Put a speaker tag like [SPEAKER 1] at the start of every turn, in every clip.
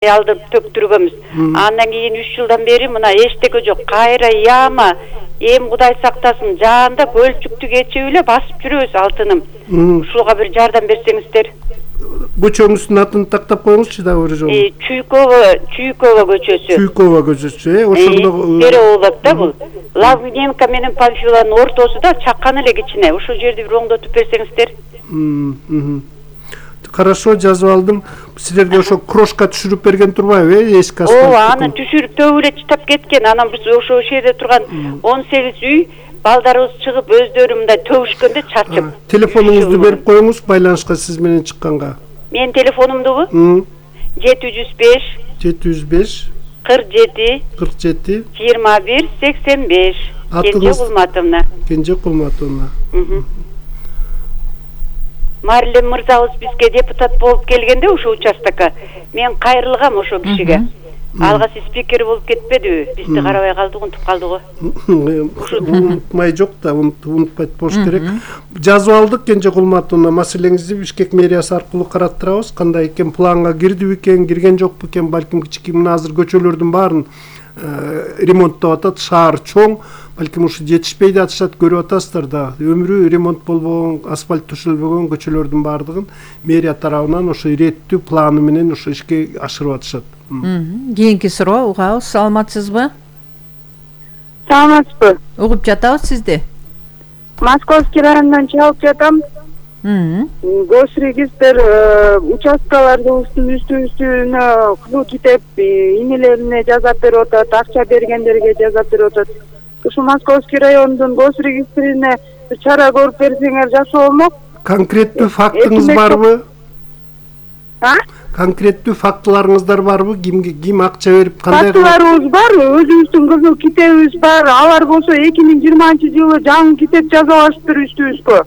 [SPEAKER 1] алдырып төктүргөнбүз. Андан кийин 3 жылдан бери мына эчтеке жок. Кайра яма, эм Кудай сактасын, жаанда көлчүктү кечип эле басып жүрөбүз алтыным. Ушуга бир жардам берсеңиздер.
[SPEAKER 2] Көчөңүздүн атын тактап коюңузчу дагы бир жолу.
[SPEAKER 1] Чуйкова көчөсү.
[SPEAKER 2] Чуйкова көчөсү, ошондо
[SPEAKER 1] Переулок да бул. Лавненко менен Памфиланын ортосунда чакан эле кичине. Ошол жерди бир оңдотуп берсеңиздер.
[SPEAKER 2] Хорошо, жазып алдым. Силерге ошо крошка түшүрүп берген турбайбы, эски асфальт?
[SPEAKER 1] Ооба, аны түшүрүп төбү эле чытап кеткен. Анан биз ошол жерде турган 18 үй балдарыбыз чыгып өздөрү мындай төгүшкөндө чарчып.
[SPEAKER 2] Телефонуңузду берип коюңуз байланышка сиз менен чыкканга.
[SPEAKER 1] Менин телефонумдубу? 705 47 21 85. Кенже Кулматовна. Марлем мырзабыз бизге депутат болуп келгенде ошо участокко мен кайрылгам ошо кишиге. Алгасы спикер болуп кетпедиби? Бизди карабай калдык, унутуп калдык.
[SPEAKER 2] Унутмай жок да, унутпайт болуш керек. Жазып алдык Кенже Кулматовна, маселеңизди Бишкек мэриясы аркылуу караттырабыз. Кандай экен, планга кирдиби экен, кирген жокпу экен, балким кичике мына азыр көчөлөрдүн баарын ремонттоп атат, шаар чоң, балким ушу жетишпей да атышат, көрүп атасыздар да. Өмүрү ремонт болбогон, асфальт төшөлбөгөн көчөлөрдүн баардыгын мэрия тарабынан ошо иреттүү планы менен ошо ишке ашырып атышат.
[SPEAKER 3] Кийинки суроо угабыз, саламатсызбы?
[SPEAKER 4] Саламатсызбы?
[SPEAKER 3] Угуп жатабыз сизди.
[SPEAKER 4] Московский районунан чалып жатам. Госрегистр участкалардын үстүнө кызыл китеп инелерине жазап берип атат, акча бергендерге жазап берип атат. Ушу Московский райондун госрегистрине бир чара көрүп берсеңер жакшы болмок.
[SPEAKER 2] Конкреттүү фактыңыз барбы? Конкреттүү фактыларыңыздар барбы? Ким акча берип, кандай?
[SPEAKER 4] Фактыларыбыз бар, өзүбүздүн кызыл китебибиз бар. Алар болсо 2020-жылы жаңы китеп жазып алыштыр үстүбүзгө.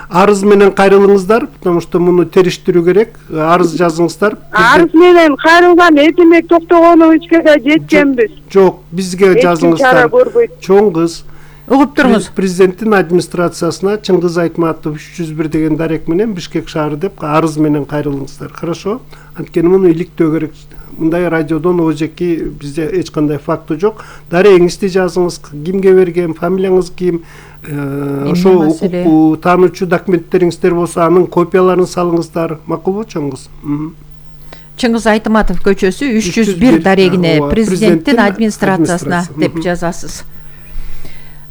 [SPEAKER 2] Арыз менен кайрылыңыздар, потому что муну териштирүү керек. Арыз жазыңыздар.
[SPEAKER 4] Арыз менен кайрылган Этемек Токтогоновичке да жеткенбиз.
[SPEAKER 2] Жок, бизге жазыңыздар. Чоң кыз.
[SPEAKER 3] Угуп туруңуз.
[SPEAKER 2] Президенттин администрациясына Чыңгыз Айтматов 301 деген дарек менен Бишкек шаары деп арыз менен кайрылыңыздар. Хорошо? Анткени муну иликтөө керек. Мындай радиодон ожеки бизде эч кандай факты жок. Дарегиңизди жазыңыз, кимге берген, фамилияңыз ким, ошо укук таануучу документтериңиздер болсо анын копияларын салыңыздар. Макулбу чоңгуз?
[SPEAKER 3] Чыңгыз Айтматов көчөсү 301 дарегине президенттин администрациясына деп жазасыз.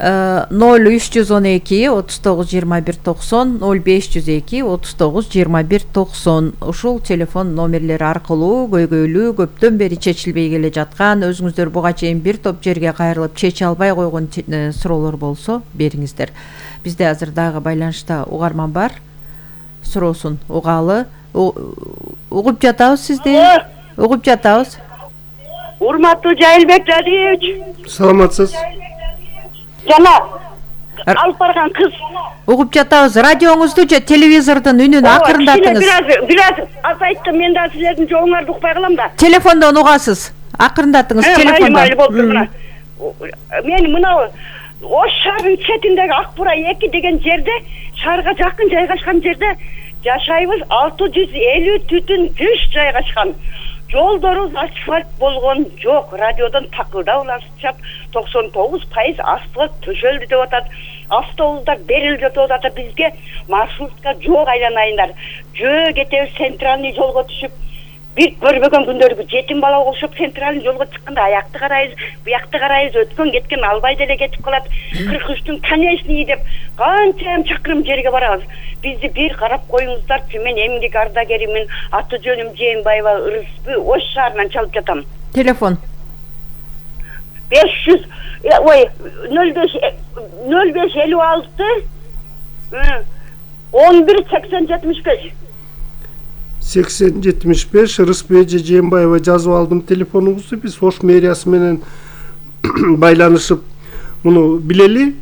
[SPEAKER 3] 0312 39 21 90 0502 39 21 90 ушул телефон номерлери аркылуу көйгөйлүү көптөн бери чечилбей келе жаткан, өзүңүздөр буга чейин бир топ жерге кайрылып чече албай койгон суроолор болсо бериңиздер. Бизде азыр дагы байланышта угарман бар. Суроосун угалы. Угуп жатабыз сизди. Угуп жатабыз.
[SPEAKER 4] Урматтуу Жайылбек Жадиевич.
[SPEAKER 2] Саламатсыз.
[SPEAKER 4] Жана алып барган кыз.
[SPEAKER 3] Угуп жатабыз. Радиоңузду же телевизордун үнүн акырындатыңыз.
[SPEAKER 4] Бираз азайттым, мен да силердин жооңарды укпай калам да.
[SPEAKER 3] Телефондон угасыз. Акырындатыңыз телефондон.
[SPEAKER 4] Майыл болуптур мына. Мен мына Ош шаарынын четиндеги Акбура 2 деген жерде, шаарга жакын жайгашкан жерде жашайбыз. 650 түтүн жүш жайгашкан. Жолдорубуз асфальт болгон жок. Радиодон такылдап улашып 99% асфальт төшөлдү деп атат. Автобустар берилип жатып атат. Бизге маршрутка жок айланайындар. Жөө кетебиз, центральный жолго түшүп, бир көрбөгөн күндөргө жетим бала окшоп центральный жолго чыкканда аякты карайбыз, буякты карайбыз, өткөн кеткен албай деле кетип калат. 43-түн конечный деп канча чакырым жерге барабыз. Бизди бир карап коюңуздарчы. Мен эмгек ардагеримин, аты жөнүм Жээнбаева Ырыспы, Ош шаарынан чалып жатам.
[SPEAKER 3] Телефон
[SPEAKER 4] 05 56 11 80 75.
[SPEAKER 2] 80-75 Ырыспы Жээнбаева жазып алдым телефонуңузду. Биз Ош мэриясы менен байланышып муну билели.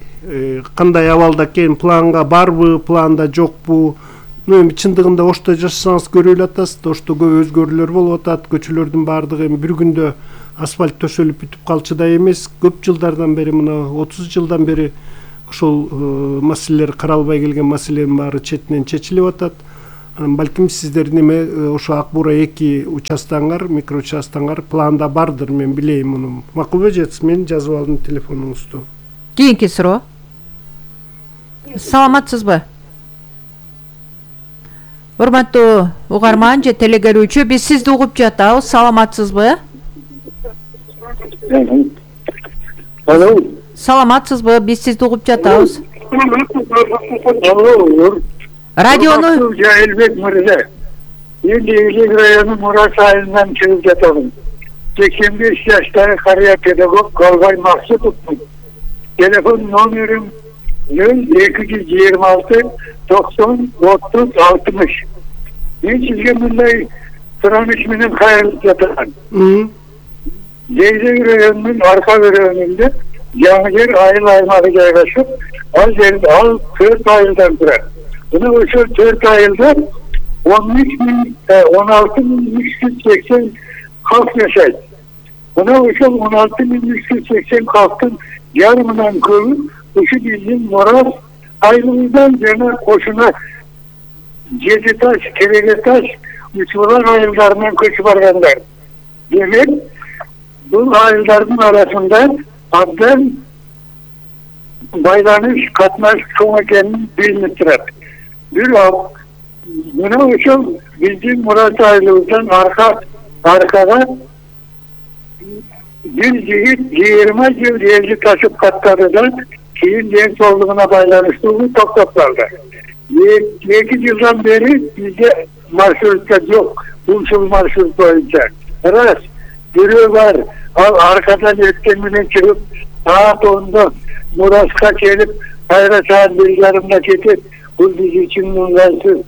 [SPEAKER 2] Кандай абалда экен, планга барбы, планда жокпу? Эми чындыгында Ошто жашасаңыз көрүп атасыз, Ошто көп өзгөрүүлөр болуп атат, көчөлөрдүн баардыгы эми бир күндө асфальт төшөлүп бүтүп калчу да эмес. Көп жылдардан бери, мына 30 жылдан бери ошол маселелер каралбай келген маселенин баары четинен чечилип атат. Балким сиздер неме ошо Ак Бура 2 участогуңар, микроучастогуңар планда бардыр, мен билейм муну. Макулбу жетс, мен жазып алдым телефонуңузду.
[SPEAKER 3] Кийинки суроо. Саламатсызбы? Урматтуу угарман же телегөрүүчү, биз сизди угуп жатабыз. Саламатсызбы?
[SPEAKER 5] Алло.
[SPEAKER 3] Саламатсызбы? Биз сизди угуп жатабыз.
[SPEAKER 5] Алло.
[SPEAKER 3] Радиону
[SPEAKER 5] Элбек мырза. Мен Элек району Мурас айылынан чыгып жатамын. 85 жаштагы карыя педагог Голбай Максутовмун. Телефон номерим 0226 90 30 60. Мен сизге мындай сураныш менен кайрылып жатам. Элек районунун арка бөлүгүндө жаңы жер айыл аймагы жайгашып, ал 4 айылдан турат. Buna ошол 4 айылда 16.380 halk yaşaydı. Buna ошол 16.380 halkın yarımından köpü uşu bizim Moraz ayılından jana koşuna Жетitaş, Keregetaş, Uçulan ayıllarından köçüp barganlar. Demek bu ayılların arasında abdan baylanış, katnaş çoğun ekenini bilinip durat. Buna ошол биздин Мурат айылыбыздан аркага бир жигит 20 жыл элди ташып каттады да кийин ден соолугуна байланыштуу токтоп калды. 2 жылдан бери бизде маршрутка жок, ушул маршрут боюнча. Раз, бирөө бар, ал аркадан өткөн менен чыгып, саат 10'da Muraska келип, кайра саат 1:30'da кетип, бул биз үчүн ыңгайсыз.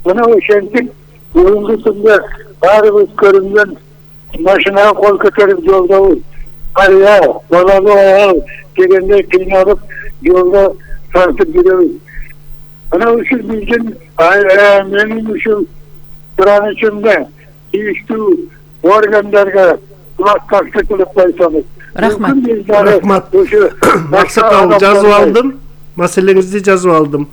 [SPEAKER 5] Мына ошентип, бүгүнкү күндө баарыбыз көрүнгөн машинага кол көтөрүп жолдобуз. Карыя, балалуу аял дегендей кыйналып, жолдо тартып жүрөбүз. Мына ушул биздин менин ушул суранычымда тийиштүү органдарга кулакташты кылып койсоңуз.
[SPEAKER 3] Рахмат.
[SPEAKER 2] Максакал жазып алдым. Маселеңизди жазып алдым.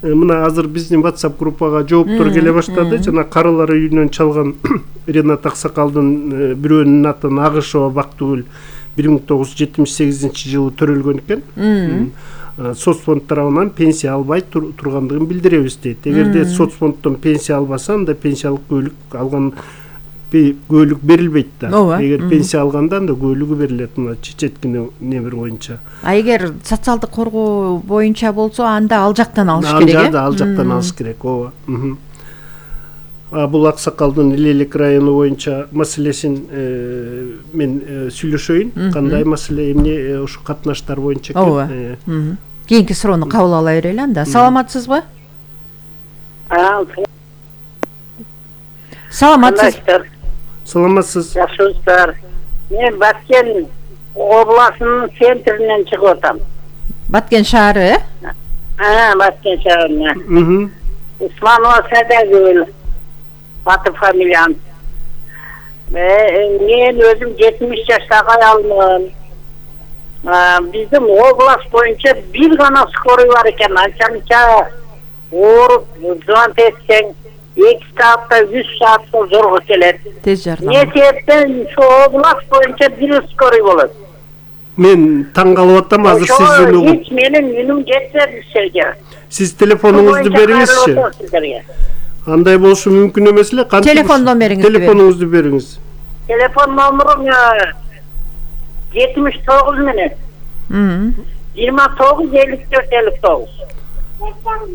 [SPEAKER 2] Мына азыр биздин WhatsApp группага жооптор келе баштады. Жана карылар үйүнөн чалган Ренат Аксакалдын бирөөнүн аты Агышова Бактыгүл 1978-жылы төрөлгөн экен. Соцфонд тарабынан пенсия албай тургандыгын билдиребиз дейт. Эгерде соцфонддон пенсия албаса, анда пенсиялык көйлүк алган көйлүк берилбейт да. Эгер пенсия алгандан да көйлүгү берилет, мына чечеткине небер боюнча.
[SPEAKER 3] А эгер социалдык коргоо боюнча болсо, анда ал жактан алыш керек.
[SPEAKER 2] Анда ал жактан алыш керек, ооба. Бул Аксакалдын Элек району боюнча маселесин мен сүйлөшөйүн. Кандай маселе, эмне ушу катнаштар боюнча экен.
[SPEAKER 3] Кийинки суроону кабыл ала берели анда. Саламатсызбы? Саламатсыз.
[SPEAKER 2] Саламатсыз.
[SPEAKER 6] Жакшыбыздар. Мен Баткен областынын центринен чыгып атам.
[SPEAKER 3] Баткен шаары,
[SPEAKER 6] Баткен шаарынан. Усманова Садагүл. Аты фамилиям. Мен өзүм 70 жаштагы аялмын. Биздин область боюнча бир гана скорый бар экен. Анча ооруп, звонок этсең 2 саатта 3 саатта зорго келет.
[SPEAKER 3] Тез жардам.
[SPEAKER 6] Не себептен ушу область боюнча бир скорый болот.
[SPEAKER 2] Мен таң калып атам азыр сиздин угуп.
[SPEAKER 6] Hiç менин үнүм жетпеди сизге.
[SPEAKER 2] Сиз телефонуңузду бериңизчи. Андай болушу мүмкүн эмес эле.
[SPEAKER 3] Телефон номериңизди бериңиз.
[SPEAKER 2] Телефонуңузду бериңиз.
[SPEAKER 6] Телефон номерим 79 менен. 29 54 59.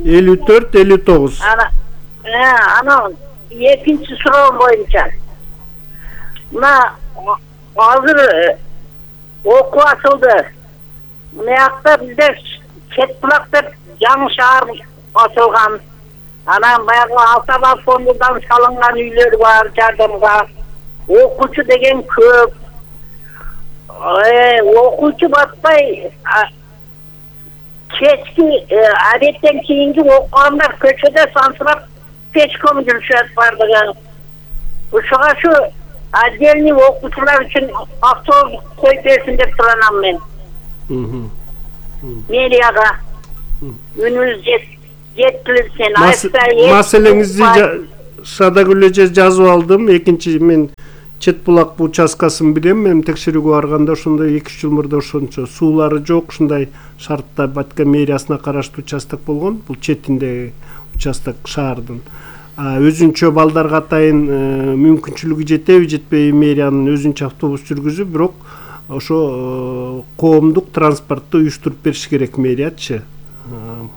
[SPEAKER 2] 54 59.
[SPEAKER 6] Ana экинчи суроом боюнча. Мына азыр окуу ачылды. Мыякта бизде Четбулак деп жаңы шаар ачылган. Анан баягы Алтабал фондунан салынган үйлөр бар жардамга. Окуучу деген көп. Окуучу батпай кечки адеттен кийинки окугандар көчөдө сансырап пешком жүрүшөт бардыгы. Ушуга ушу отдельный окуучулар үчүн автобус коюп берсин деп туранам мен. Мэрияга үнүбүз жеткиликсин.
[SPEAKER 2] Маселеңизди Шадагүл эже жазып алдым. Экинчи мен Чет булак участкасын билем. Мен текшерүүгө барганда ошондой 2-3 жыл мурда ошончо суулары жок, ушундай шартта Батка мэриясына караштуу участок болгон. Бул четинде участок шаардын. Өзүнчө балдарга атайын мүмкүнчүлүгү жетеби, жетпейби мэриянын өзүнчө автобус жүргүзүп, бирок ошо коомдук транспортду уюштуруп бериш керек мэриячы.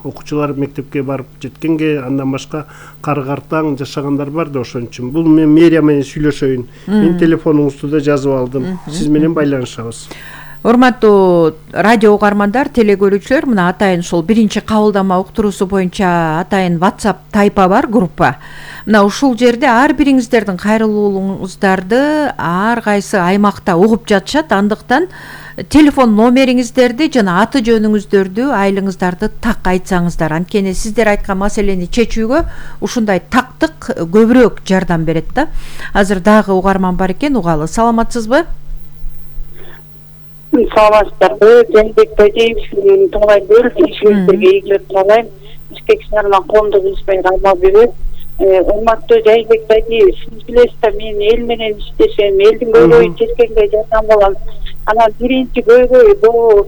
[SPEAKER 2] Окуучулар мектепке барып жеткенге андан башка кары-картаң жашагандар бар да, ошон үчүн. Бул мен мэрия менен сүйлөшөйүн. Мен телефонуңузду да жазып алдым. Сиз менен байланышабыз.
[SPEAKER 3] Урматтуу радио угармандар, телекөрүүчүлөр, мына атайын ушул биринчи кабылдама уктуруусу боюнча атайын WhatsApp тайпа бар, группа. Мына ушул жерде ар бириңиздердин кайрылуулуңуздарды ар кайсы аймакта угуп жатышат. Андыктан телефон номериңиздерди жана аты жөнүңүздөрдү, айлыңыздарды так айтсаңыздар. Анткени сиздер айткан маселени чечүүгө ушундай тактык көбүрөөк жардам берет да. Азыр дагы угарман бар экен, угалы. Саламатсызбы?
[SPEAKER 7] Саламатсыздарбы, Жээнбек Тажиев, Тоолай Бөл, ишиңиздерге ийгилик каалайм. Бишкек шаарынан коомдук ишмер Алмабүбү. Урматтуу Жээнбек Тажиев, сиз билесиз да, мен эл менен иштешем, элдин көйгөйүн чечкенге жардам болом. Анан биринчи көйгөй бул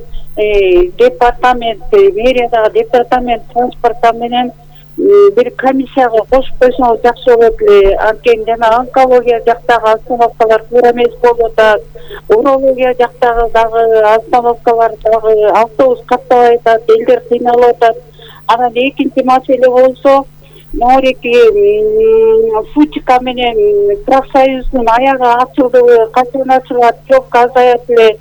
[SPEAKER 7] департамент, мэриядагы департамент транспорта менен бир комиссияга кошуп койсоңуз жакшы болот эле. Анткени жана онкология жактагы остановкалар туура эмес болуп атат. Урология жактагы дагы остановкалар дагы автобус каттабай атат, элдер кыйналып атат. Анан экинчи маселе болсо, Мореки Футика менен профсоюздун аягы ачылдыбы, качан ачылат, жок азаят эле.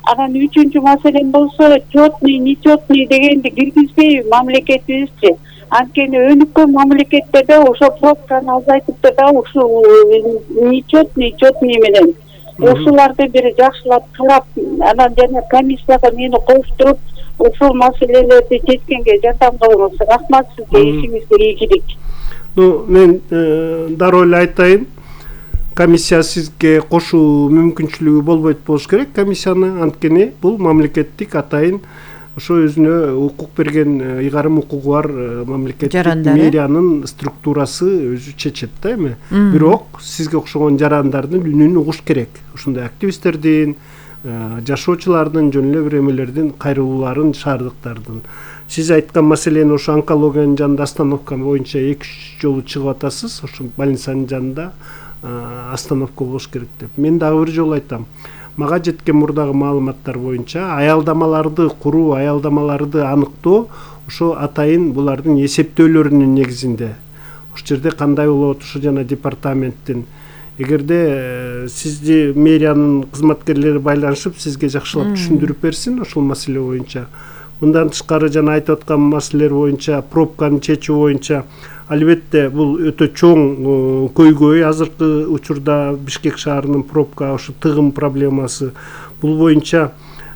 [SPEAKER 7] Анан үчүнчү маселе болсо, четный, нечетный дегенди киргизбейби мамлекетибизчи. Анткени өнүккөн мамлекеттерде ошо пробканы азайтып да, ушул нечетный, четный менен ушуларды бир жакшылап карап, анан жана комиссияга мени коштуруп, ушул маселелерди чечкенге жардам кылыңыз. Рахмат сизге, ишиңизге ийгилик.
[SPEAKER 2] Мен дароо эле айтайын. Комиссия сизге кошуу мүмкүнчүлүгү болбойт болуш керек комиссияны, анткени бул мамлекеттик атайын ошо өзүнө укук берген ыйгарым укугу бар мамлекеттик мэриянын структурасы өзү чечет да эми. Бирок сизге окшогон жарандардын үнүн угуш керек. Ушундай активисттердин, жашоочулардын, жөн эле бир эмелердин кайрылууларын, шаардыктардын. Сиз айткан маселени ошо онкологиянын жанында остановка боюнча 2-3 жолу чыгып атасыз. Ошо больницанын жанында остановка болуш керек деп. Мен дагы бир жолу айтам. Мага жеткен мурдагы маалыматтар боюнча аялдамаларды куруу, аялдамаларды аныктоо ошо атайын булардын эсептөөлөрүнүн негизинде. Ошол жерде кандай болот, ошо жана департаменттин эгерде сизди мэриянын кызматкерлери байланышып, сизге жакшылап түшүндүрүп берсин ошол маселе боюнча. Мындан тышкары жана айтып аткан маселелер боюнча, пробканы чечүү боюнча албетте бул өтө чоң көйгөй. Азыркы учурда Бишкек шаарынын пробка, ошо тыгым проблемасы бул боюнча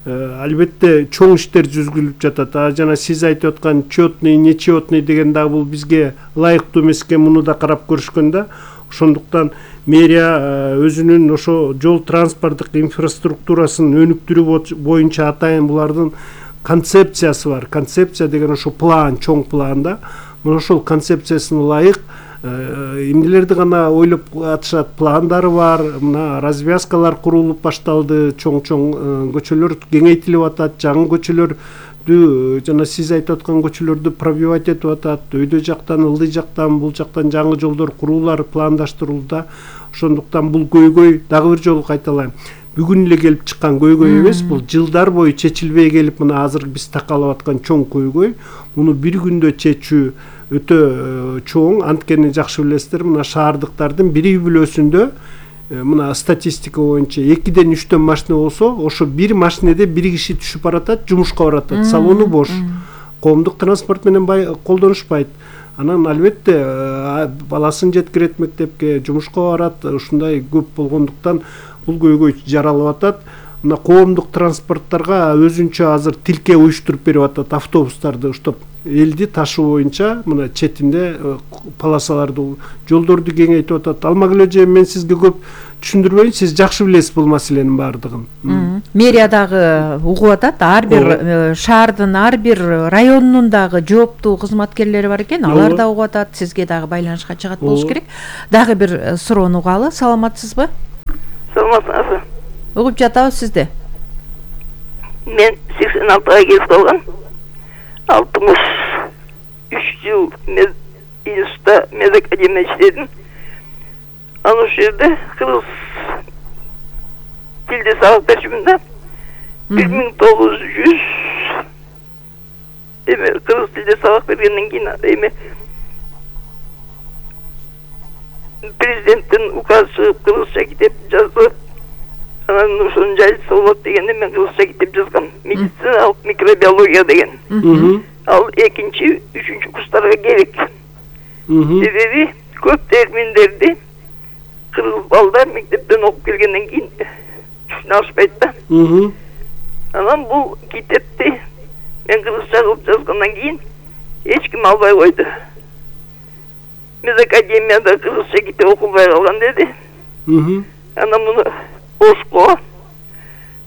[SPEAKER 2] албетте чоң иштер жүзгүлүп жатат. Жана сиз айтып аткан четный, нечетный деген дагы бул бизге ылайыктуу эмес экен, муну да карап көрүшкөн да. Ошондуктан мэрия өзүнүн ошо жол транспорттук инфраструктурасын өнүктүрүү боюнча атайын булардын концепциясы бар. Концепция деген ошо план, чоң план да. Ошол концепциясына ылайык эмнелерди гана ойлоп атышат, пландары бар. Мына развязкалар курулуп башталды, чоң-чоң көчөлөр кеңейтилип атат, жаңы көчөлөрдү жана сиз айтып аткан көчөлөрдү пробивать этип атат. Өйдө жактан, ылдый жактан, бул жактан жаңы жолдор куруулар пландаштырылды. Ошондуктан бул көйгөй дагы бир жолу кайталайм. Бүгүн эле келип чыккан көйгөй эмес, бул жылдар бою чечилбей келип, мына азыр биз такалап аткан чоң көйгөй. Муну бир күндө чечүү өтө чоң. Анткени жакшы билесиздер, мына шаардыктардын бири бүлөсүндө мына статистика боюнча 2-ден 3төн машина болсо, ошо бир машинеде бир киши түшүп баратат, жумушка баратат, салону бош. Коомдук транспорт менен колдонушпайт. Анан албетте баласын жеткирет мектепке, жумушка барат, ушундай көп болгондуктан бул көйгөй жаралып атат. Мына коомдук транспорттарга өзүнчө азыр тилке уюштуруп берип атат, автобустарды уштап элди ташуу боюнча мына четинде полосаларды, жолдорду кеңейтип атат. Алмагүл эже, мен сизге көп түшүндүрбөйүн, сиз жакшы билесиз бул маселенин баардыгын.
[SPEAKER 3] Мэрия дагы угуп атат, ар бир шаардын ар бир районунун дагы жооптуу кызматкерлери бар экен, алар да угуп атат, сизге дагы байланышка чыгат болуш керек. Дагы бир суроону угалы. Саламатсызбы?
[SPEAKER 8] Саламатсызбы?
[SPEAKER 3] Угуп жатабыз сизди.
[SPEAKER 8] Мен 86-га келип калгам. 63 жыл институтта медакадемияда иштедим. Аны жерде кыргыз тилде сабак берчүмүн да. 1900 кыргыз тилде сабак бергенден кийин президенттин указы чыгып кыргызча китеп жазды. Анан ошонун жайылтса болот дегенде мен кыргызча китеп жазгам. Медициналык микробиология деген. Ал 2-3 курстарга керек. Себеби көп терминдерди кыргыз балдар мектептен окуп келгенден кийин түшүнө алышпайт да. Анан бул китепти мен кыргызча кылып жазгандан кийин эч ким албай койду. Медакадемияда кыргызча китеп окубай калган деди. Анан муну Ошко,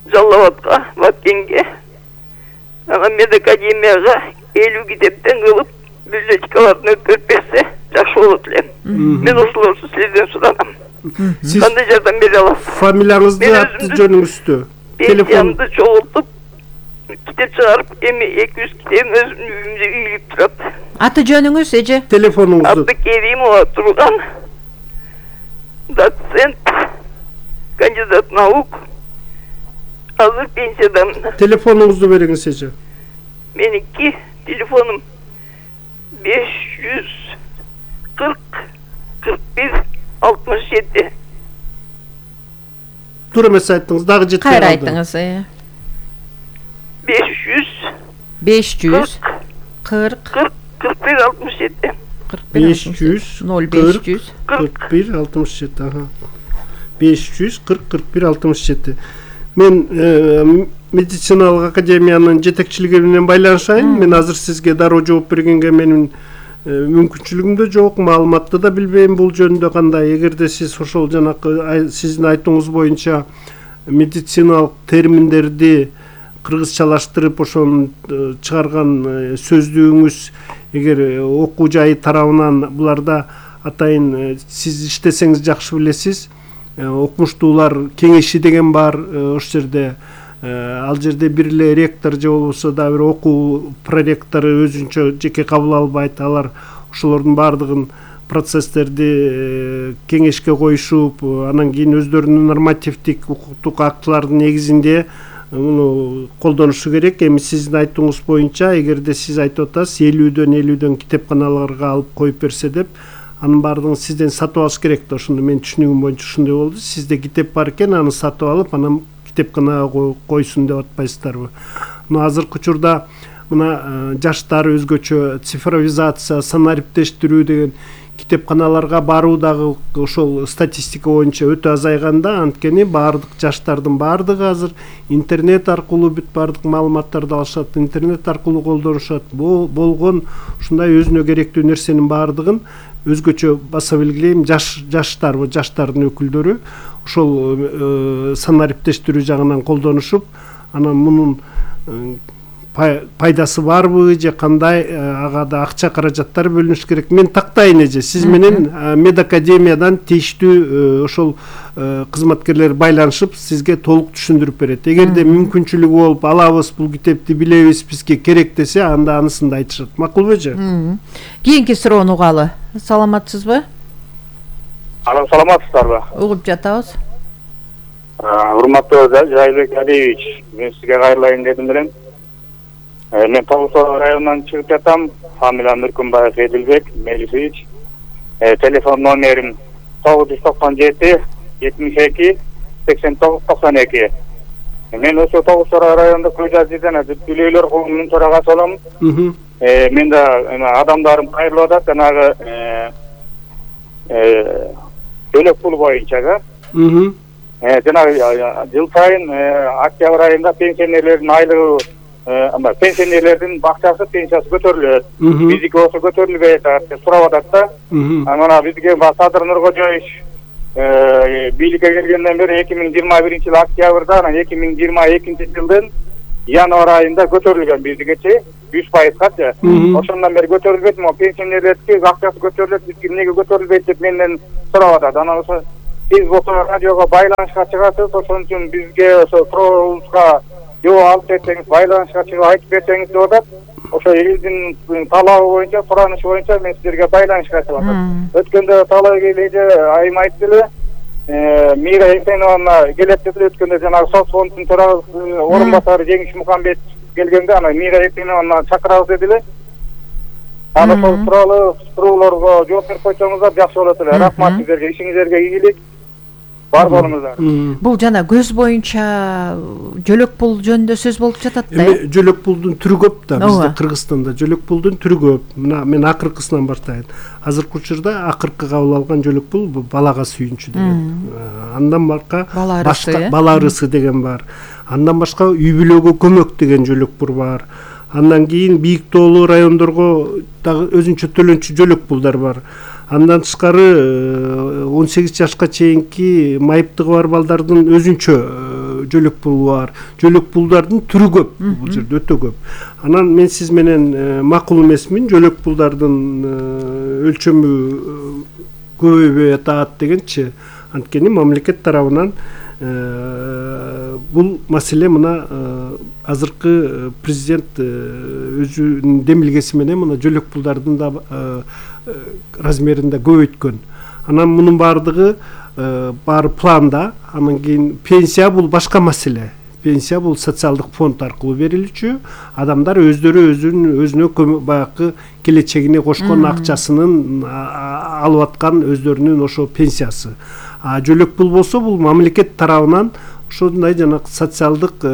[SPEAKER 8] Жалал-Абадка, Баткенге, анан медакадемияга 50 китептен кылып библиотекаларын өткөрүп берсе жакшы болот эле. Мен ошолорду сизден суранам. Кандай жардам бере аласыз?
[SPEAKER 2] Фамилияңызды, аты жөнүңүздү,
[SPEAKER 8] телефонду чогултуп китеп чыгарып, эми 200 китебим өзүмдүн үйүмдө үйүлүп турат.
[SPEAKER 3] Аты жөнүңүз эже?
[SPEAKER 2] Телефонуңузду.
[SPEAKER 8] Абдыкеримова Турган, доцент, кандидат наук, азыр пенсиядамын. Телефонуңузду
[SPEAKER 2] бериңиз эже.
[SPEAKER 8] Меники телефонум 540 41 67.
[SPEAKER 2] Туура эмес айттыңыз, дагы жетпей калды.
[SPEAKER 3] Кайра айттыңыз.
[SPEAKER 8] 540 41 67.
[SPEAKER 2] 540 41 67. 540 41 67. Мен медициналык академиянын жетекчилиги менен байланышайын. Мен азыр сизге дароо жооп бергенге менин мүмкүнчүлүгүм да жок, маалыматты да билбейм бул жөнүндө кандай. Эгерде сиз ошол жанакы сиздин айтууңуз боюнча медициналык терминдерди кыргызчалаштырып ошону чыгарган сөздүгүңүз эгер окуу жайы тарабынан буларда атайын сиз иштесеңиз жакшы билесиз. Окумуштуулар кеңеши деген бар ошол жерде. Ал жерде бир эле ректор же болбосо да бир окуу проректору өзүнчө жеке кабыл албайт. Алар ошолордун баардыгын процесстерди кеңешке коюшуп, анан кийин өздөрүнүн нормативдик укуктук актылардын негизинде муну колдонушу керек. Эми сиздин айтууңуз боюнча, эгерде сиз айтып атасыз 50-50 китепканаларга алып коюп берсе деп, анын баардыгын сизден сатып алыш керек да. Ошондо мен түшүнүгүм боюнча ушундай болду. Сизде китеп бар экен, аны сатып алып, анан китепканага койсун деп атпайсыздарбы? Азыркы учурда мына жаштар өзгөчө цифровизация, санариптештирүү деген китепканаларга баруу дагы ошол статистика боюнча өтө азайганда, анткени баардык жаштардын баардыгы азыр интернет аркылуу бүт баардык маалыматтарды алышат, интернет аркылуу колдонушат. Болгон ушундай өзүнө керектүү нерсенин баардыгын өзгөчө баса белгилейм, жаштардын өкүлдөрү ошол санариптештирүү жагынан колдонушуп, анан мунун пайдасы барбы же кандай, ага да акча каражаттар бөлүнүш керек. Мен тактайын эже, сиз менен медакадемиядан тийиштүү ошол кызматкерлер байланышып сизге толук түшүндүрүп берет. Эгерде мүмкүнчүлүгү болуп, алабыз бул китепти, билебиз, бизге керек десе, анда анысын да айтышат. Макулбу эже?
[SPEAKER 3] Кийинки суроону угалы. Саламатсызбы?
[SPEAKER 9] Алам, саламатсыздарбы?
[SPEAKER 3] Угуп жатабыз.
[SPEAKER 9] Урматтуу Жайылбек Алиевич, мен сизге кайрылайын дедим элем. Мен Тоғызтау районунан чыгып жатам. Фамилиям Нуркунбаев Эдилбек Мелисович. Телефон номерим 997 72 89 92. Мен ошо Тоғызтау районунда Көйжазиден Дүлөйлөр коомунун төрагасы болом. Мен да адамдарым кайрылып атат, жанагы төлөк пул боюнча. Жанагы жыл сайын октябрь айында пенсионерлердин айлыгы пенсионерлердин бакчасы пенсиясы көтөрүлөт. Биздики болсо көтөрүлбөй атат деп сурап атат да. Анан бизге Садыр Нуркожоевич бийликке келгенден бери 2021-жыл октябрда, анан 2022-жылдын январь айында көтөрүлгөн биздикечи 100%-га. Ошондон бери көтөрүлбөйт, могу пенсионерлердики акчасы көтөрүлөт, бизге эмнеге көтөрүлбөйт деп менден сурап атат. Анан ошо сиз болсо радиого байланышка чыгасыз, ошон үчүн бизге ошо туруубузга жооп алып берсеңиз, байланышка чыгып айтып берсеңиз деп атат. Ошо элдин талабы боюнча, суранышы боюнча мен силерге байланышка чыгып атам. Өткөндө талап эле айым айтты эле, Мира Эсеновна келет деп өткөндө жанагы соцфонддун төрагасы орун басары Жеңиш Мукамбет келгенде ана Мира Эсеновна чакырабыз деди эле. Аны сол суроолорго жооп берип койсоңуздар жакшы болот эле. Рахмат сиздерге, ишиңиздерге ийгилик. Бар болуңуздар.
[SPEAKER 3] Бул жана көз боюнча жөлөк пул жөнүндө сөз болуп жатат да.
[SPEAKER 2] Жөлөк пулдун түрү көп да, бизде Кыргызстанда жөлөк пулдун түрү көп. Мына мен акыркысынан баштайын. Азыркы учурда акыркы кабыл алган жөлөк пул балага сүйүнчү деген. Андан башка бала ырысы деген бар. Андан башка үй бүлөгө көмөк деген жөлөк пул бар. Андан кийин бийик тоолуу райондорго дагы өзүнчө төлөнчү жөлөк пулдар бар. Андан тышкары 18 жашка чейинки майыптыгы бар балдардын өзүнчө жөлөк пулу бар. Жөлөк пулдардын түрү көп, бул жерде өтө көп. Анан мен сиз менен макул эмесмин, жөлөк пулдардын өлчөмү көбөйбөй атат дегенчи. Анткени мамлекет тарабынан бул маселе мына азыркы президент өзүнүн демилгеси менен мына жөлөк пулдардын да размерин да көбөйткөн. Анан мунун баардыгы баары планда. Анан кийин пенсия бул башка маселе. Пенсия бул социалдык фонд аркылуу берилчү. Адамдар өздөрү өзүнө баягы келечегине кошкон акчасынын алып аткан өздөрүнүн ошо пенсиясы. Жөлөк пул болсо бул мамлекет тарабынан ошондой жана социалдык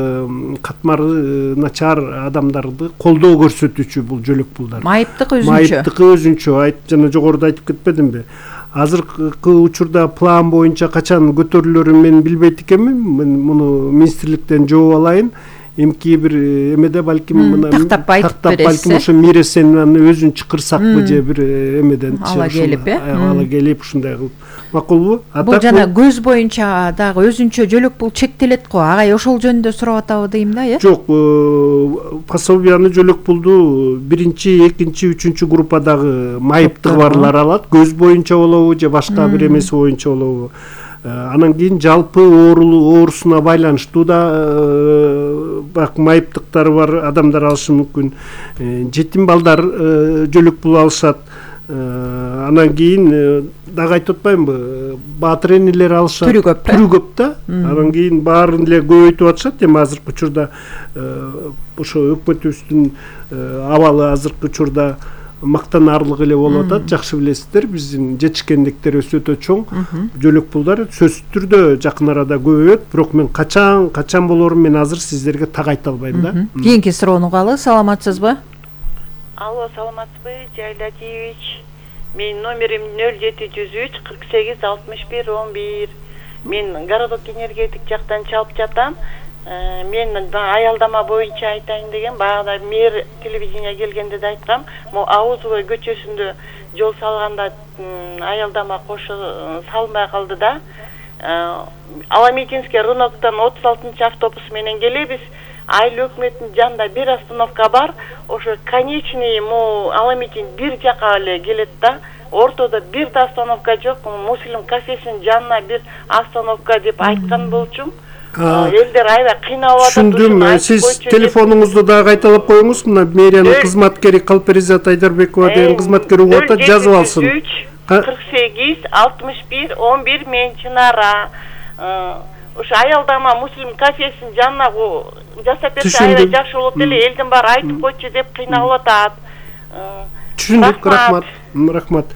[SPEAKER 2] катмары начар адамдарды колдоо көрсөтүүчү бул жөлөк пулдар. Майыптык өзүнчө жана жогоруда айтып кетпедимби? Азыркы учурда план боюнча качан көтөрүлөрүн мен билбейт экенмин. Мен муну министрликтен жооп алайын. Эмки бир эмеде балким
[SPEAKER 3] тактап
[SPEAKER 2] балким ошо Мира Эсеновнаны өзүн чакырсакпы же бир эмеден
[SPEAKER 3] ала
[SPEAKER 2] келип ушундай кылып макулбу?
[SPEAKER 3] Бул жана көз боюнча дагы өзүнчө жөлөк пул чектелет го. Агай ошол жөнүндө сурап атабы дейм да, э?
[SPEAKER 2] Жок, пособияны жөлөк пулду 1-2, 3 группадагы майыптыгы барлар алат. Көз боюнча болобу же башка бир эмеси боюнча болобу? Анан кийин жалпы оорусуна байланыштуу да майыптыктары бар адамдар алышы мүмкүн. Жетим балдар жөлөк пул алышат. Анан кийин дагы айтып атпаймынбы, баатыр энелер алышат. Түрү көп да. Анан кийин баарын эле көбөйтүп атышат. Эми азыркы учурда ошо өкмөтүбүздүн абалы азыркы учурда мактанаарлык эле болуп атат. Жакшы билесиздер, биздин жетишкендиктерибиз өтө чоң. Жөлөк пулдар сөзсүз түрдө жакын арада көбөйөт, бирок мен качан болорун мен азыр сиздерге так айта албайм да.
[SPEAKER 3] Кийинки суроону угалы, саламатсызбы?
[SPEAKER 10] Алло, саламатсызбы, Жайлатиевич? Менин номерим 0703 48 61 11. Мен городок энергетик жактан чалып жатам. Мен аялдама боюнча айтайын деген, баягы мэр телевидение келгенде да айткам, могу Авузовой көчөсүндө жол салганда аялдама кошо салынбай калды да. Аламитинский рыноктон 36 автобус менен келебиз. Айыл өкмөттүн жанында бир остановка бар. Ошо конечный Аламитин бир жака эле келет да. Ортодо бир да остановка жок. Муслим кафесинин жанына бир остановка деп айткан болчумун. Элдер аябай кыйналып атат.
[SPEAKER 2] Түшүндүм. Сиз телефонуңузду дагы кайталап коюңуз. Мына мэриянын кызматкери Калперизат Айдарбекова деген кызматкер угуп атат, жазып алсын.
[SPEAKER 10] 48 61 11 мен Чынара. Ошо аялдама Муслим кафесинин жанына жасап берсе аябай жакшы болот эле. Элдин баары айтып койчу деп кыйналып атат.
[SPEAKER 2] Түшүндүк, рахмат.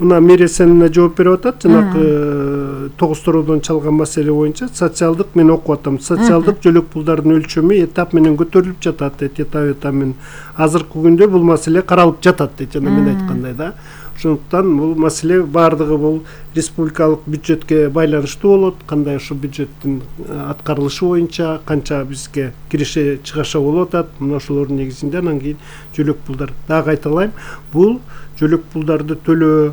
[SPEAKER 2] Мына Мира Эсеновна жооп берип атат. Жанагы 9 сороодон чалган маселе боюнча социалдык мен окуп атам. Социалдык жөлөк пулдардын өлчөмү этап менен көтөрүлүп жатат дейт. Этап менен азыркы күндө бул маселе каралып жатат дейт. Жана мен айткандай да. Ошондуктан бул маселе баардыгы бул республикалык бюджетке байланыштуу болот. Кандай ошо бюджеттин аткарылышы боюнча канча бизге киреше чыгаша болуп атат. Мына ошолордун негизинде анан кийин жөлөк пулдар. Дагы кайталайм, бул жөлөк пулдарды төлөө,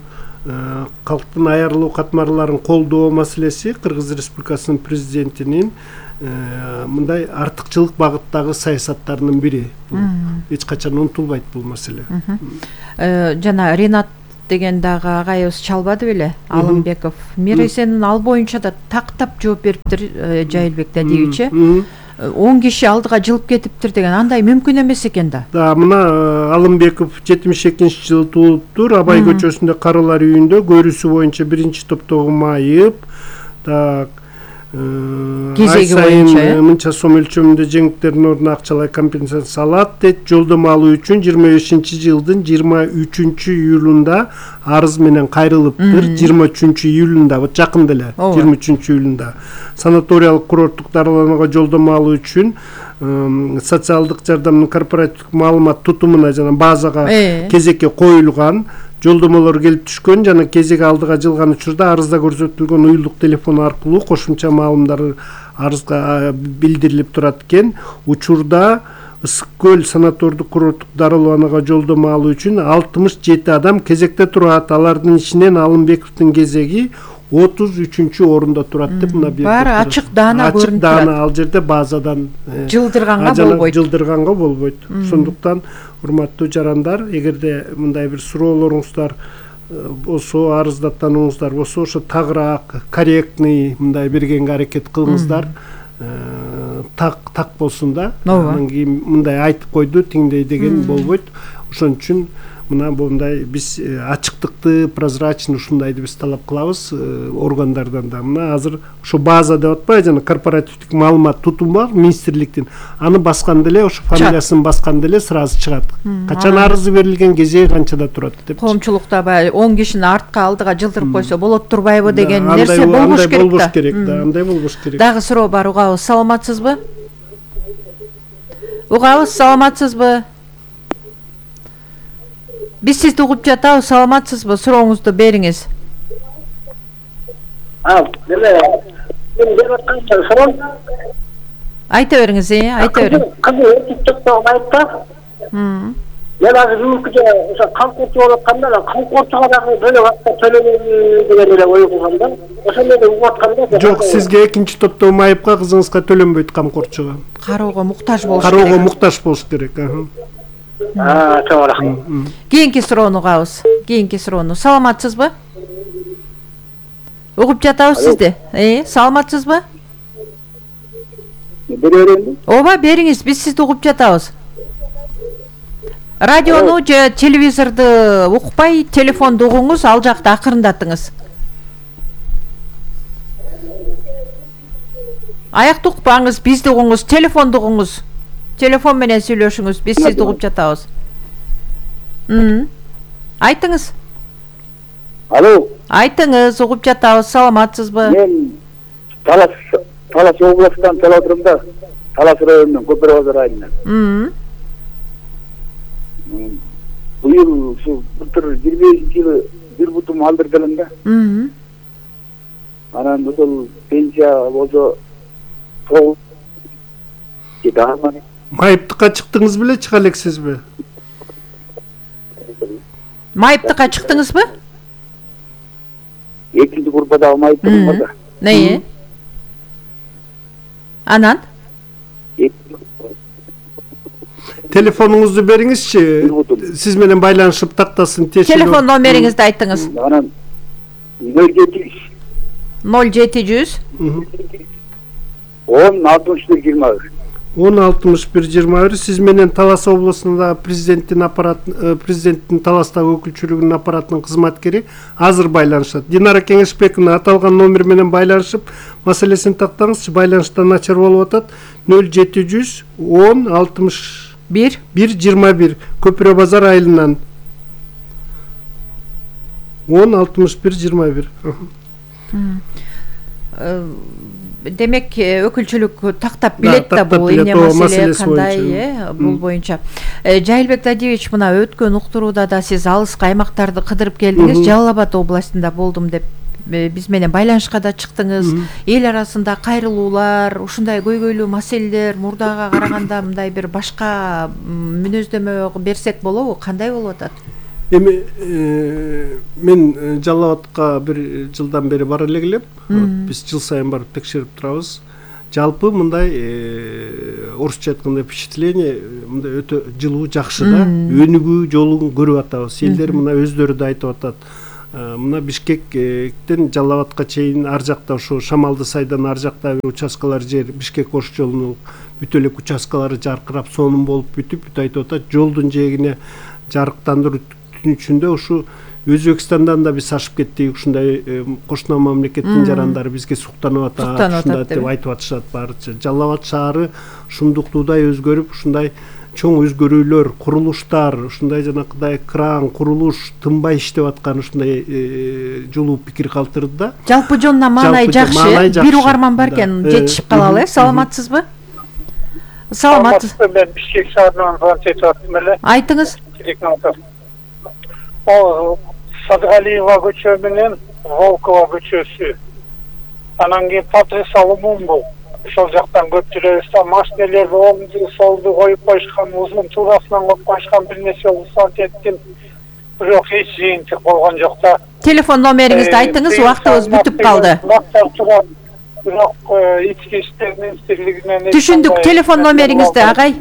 [SPEAKER 2] калктын айырылуу катмарларын колдоо маселеси Кыргыз Республикасынын президентинин мындай артыкчылык багыттагы саясаттарынын бири. Эч качан унутулбайт бул маселе.
[SPEAKER 3] Жана Ренат деген дагы агайыбыз чалбады беле, Алымбеков. Миресенин ал боюнча да тактап жооп бериптир Жайылбек Дадиевич. 10 киши алдыга жылып кетиптир деген, андай мүмкүн эмес экен да.
[SPEAKER 2] Да, мына Алымбеков 72-жылы туулуптур. Абай көчөсүндө Карылар үйүндө көрүүсү боюнча 1-топтогу майып. Так, кезеги боюнча мынча сом өлчөмүндө жеңилдиктердин ордуна акчалай компенсация алат дейт. Жолдомо алуу үчүн 25-жылдын 23-июлунда арыз менен кайрылыптыр. 23-июлунда, вот жакын деле, 23-июлунда санаториялык курорттук дарыланууга жолдомо алуу үчүн социалдык жардамдын корпоративдик маалымат тутумуна жана базага кезекке коюлган. Жолдомолор келип түшкөн жана кезек алдыга жылган учурда арызда көрсөтүлгөн уюлдук телефон аркылуу кошумча маалымдар арызга билдирилип турат экен. Учурда Ысык көл санатордук курорттук дарыланууга жолдомо алуу үчүн 67 адам кезекте турат. Алардын ичинен Алымбековдун кезеги 33-орунда турат деп мына бир.
[SPEAKER 3] Баары ачык даана көрүнүп турат.
[SPEAKER 2] Ал жерде базадан жылдырганга болбойт. Ошондуктан урматтуу жарандар, эгерде мындай бир суроолоруңуздар болсо, арыздаттанууңуздар болсо, ошо тагыраак корректный мындай бергенге аракет кылыңыздар. Так болсун да. Анан кийин мындай айтып койду, тиңдей деген болбойт. Ошон үчүн мына мындай биз ачыктыкты, прозрачный ушундайды биз талап кылабыз органдардан да. Мына азыр ошо база деп атпайбы, жана корпоративдик маалымат тутум бар министрликтин. Аны басканда эле, ошо фамилиясын басканда эле сразу чыгат. Качан арызы берилген, кезеги канчада турат деп.
[SPEAKER 3] Коомчулукта баягы 10 кишини артка алдыга жылдырып койсо болот турбайбы деген нерсе болбош керек да.
[SPEAKER 2] Болбош керек да, андай болбош керек.
[SPEAKER 3] Дагы суроо бар, угабыз, саламатсызбы? Угабыз, саламатсызбы? Биз сизди угуп жатабыз, саламатсызбы? Сурооңузду бериңиз. Айта бериңиз, айта бериң.
[SPEAKER 6] Кызы өтүп айтта. Мен азыр мүмкүнчө ошо камкорчу болуп атканда, камкорчуга дагы бөлөк акча төлөнөбү деген эле ой кылганда, ошондой угуп атканда.
[SPEAKER 2] Жок, сизге 2-топтогу майыпка кызыңызга төлөнбөйт камкорчуга.
[SPEAKER 3] Кароого муктаж болуш керек.
[SPEAKER 2] Кароого муктаж болуш керек.
[SPEAKER 6] Чоң рахмат.
[SPEAKER 3] Кийинки суроону угабыз. Кийинки суроону. Саламатсызбы? Угуп жатабыз сизди. Саламатсызбы?
[SPEAKER 6] Береренби?
[SPEAKER 3] Ооба, бериңиз, биз сизди угуп жатабыз. Радиону же телевизорду укпай, телефонду угуңуз, ал жакта акырындатыңыз. Аякты укпаңыз, бизди угуңуз, телефонду угуңуз. Телефон менен сүйлөшүңүз, биз сизди угуп жатабыз. Айтыңыз.
[SPEAKER 6] Алло.
[SPEAKER 3] Айтыңыз, угуп жатабыз, саламатсызбы?
[SPEAKER 6] Мен Талас областынан келип отурум да. Талас районунан, Көпөр базар айылынан. Быйыл ушу былтыр 25-жылы бир бутум алдырдым да. Анан ошол пенсия болсо
[SPEAKER 2] Майыптыкка чыктыңыз беле, чыга элексизби?
[SPEAKER 3] Майыптыкка чыктыңызбы?
[SPEAKER 6] Экинчи группадагы майыптыгым бар да.
[SPEAKER 3] Не? Анан?
[SPEAKER 2] Телефонуңузду бериңизчи. Сиз менен байланышып тактасын.
[SPEAKER 3] Телефон номериңизди айтыңыз.
[SPEAKER 6] Анан 0700
[SPEAKER 3] 0700
[SPEAKER 6] 10-61-21.
[SPEAKER 2] 10-61-21. Сиз менен Талас областында президенттин Таластагы өкүлчүлүгүнүн аппаратынын кызматкери азыр байланышат. Динара Кеңешбековна аталган номер менен байланышып маселесин тактаңызчы. Байланыштан начар болуп атат. 0700 10-61-21 Көпүрө базар айылынан 10-61-21.
[SPEAKER 3] демек өкүлчүлүк тактап билет да бул эмне маселе кандай бул боюнча. Жайылбек Дадиевич, мына өткөн уктурууда да сиз алыскы аймактарды кыдырып келдиңиз, Жалал Абад областында болдум деп биз менен байланышка да чыктыңыз. Эл арасында кайрылуулар, ушундай көйгөйлүү маселелер мурдага караганда мындай бир башка мүнөздөмө берсек болобу? Кандай болуп атат?
[SPEAKER 2] Эми мен Жалал Абадка бир жылдан бери бара элек. Биз жыл сайын барып текшерип турабыз. Жалпы мындай орусча айтканда впечатление мындай өтө жылуу, жакшы да. Өнүгүү жолун көрүп атабыз. Элдер мына өздөрү да айтып атат. Мына Бишкектен Жалал Абадка чейин ар жакта ошо Шамалды сайдан ар жакта участкалар жер Бишкек Ош жолунун бүт элек участкалары жаркырап сонун болуп бүтүп айтып атат. Жолдун жээгине жарыктандыруу түнүчүндө ушу Өзбекстандан да биз ашып кеттик. Ушундай кошуна мамлекеттин жарандары бизге суктанып атат, ушундай деп айтып атышат баарыча. Жалал Абад шаары шумдуктуудай өзгөрүп, ушундай чоң өзгөрүүлөр, курулуштар, ушундай жанакыдай кран, курулуш тынбай иштеп аткан ушундай жолуу пикир калтырды да.
[SPEAKER 3] Жалпы жонуна маанай жакшы. Бир угарман бар экен, жетишип калалы. Саламатсызбы? Саламатсыз.
[SPEAKER 11] Мен Бишкек шаарынан звонок этип аттым эле.
[SPEAKER 3] Айтыңыз.
[SPEAKER 11] Садгалиева көчө менен Волкова көчөсү. Анан кийин Патрис Алумун бул. Ошол жактан көп жүрөбүз да, машинелерди оңду солду коюп коюшкан, узун туурасынан коюп коюшкан, бир нече жолу саат эттим. Бирок эч жыйынтык болгон жок да.
[SPEAKER 3] Телефон номериңизди айтыңыз, убактыбыз бүтүп калды.
[SPEAKER 11] Бирок ички иштер министрлигинен
[SPEAKER 3] түшүндүк. Телефон номериңизди агай.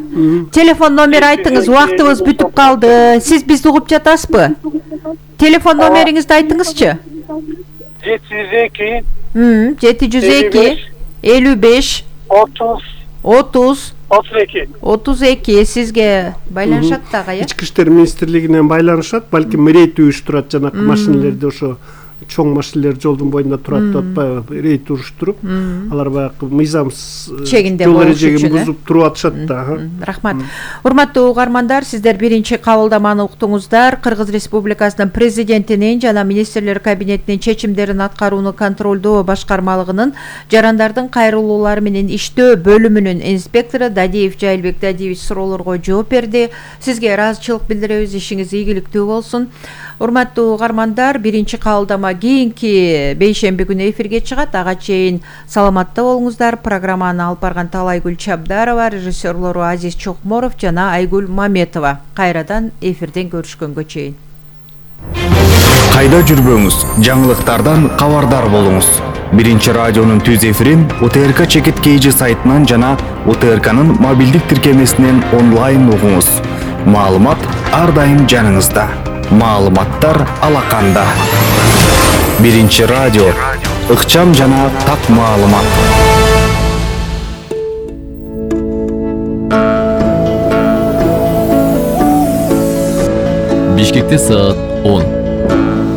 [SPEAKER 3] Телефон номер айтыңыз, убактыбыз бүтүп калды. Сиз бизди угуп жатасызбы? Телефон номериңизди айтыңызчы.
[SPEAKER 11] 702
[SPEAKER 3] 55 30 32 сизге байланышат да агай.
[SPEAKER 2] Ички иштер министрлигинен байланышат, балким рейд уюштурат, жанакы машинелерди ошо чоң машинелер жолдун боюнда турат деп атпайбы, рейд уюштуруп, алар баягы мыйзамсыз жол эрежеги бузуп туруп атышат да.
[SPEAKER 3] Рахмат. Урматтуу угармандар, сиздер биринчи кабылдаманы уктуңуздар. Кыргыз Республикасынын президентинин жана министрлер кабинетинин чечимдерин аткарууну контролдоо башкармалыгынын жарандардын кайрылуулары менен иштөө бөлүмүнүн инспектору Дадиев Жайылбек Дадиевич суроолорго жооп берди. Сизге ыраазычылык билдиребиз, ишиңиз ийгиликтүү болсун. Урматтуу угармандар, биринчи кабылдама кийинки бейшемби күнү эфирге чыгат. Ага чейин саламатта болуңуздар. Программаны алып барган Талайгүл Чабдарова, режиссерлору Азиз Чокморов жана Айгүл Маметова. Кайрадан эфирден көрүшкөнгө чейин.
[SPEAKER 12] Кайда жүрбөңүз, жаңылыктардан кабардар болуңуз. Биринчи радионун түз эфирин УТРК Чекит KG сайтынан жана УТРКнын мобилдик тиркемесинен онлайн угуңуз. Маалымат ар дайым жаныңызда. Маалыматтар алаканда. Биринчи радио, ыкчам жана так маалымат.
[SPEAKER 13] Бишкекте саат 10.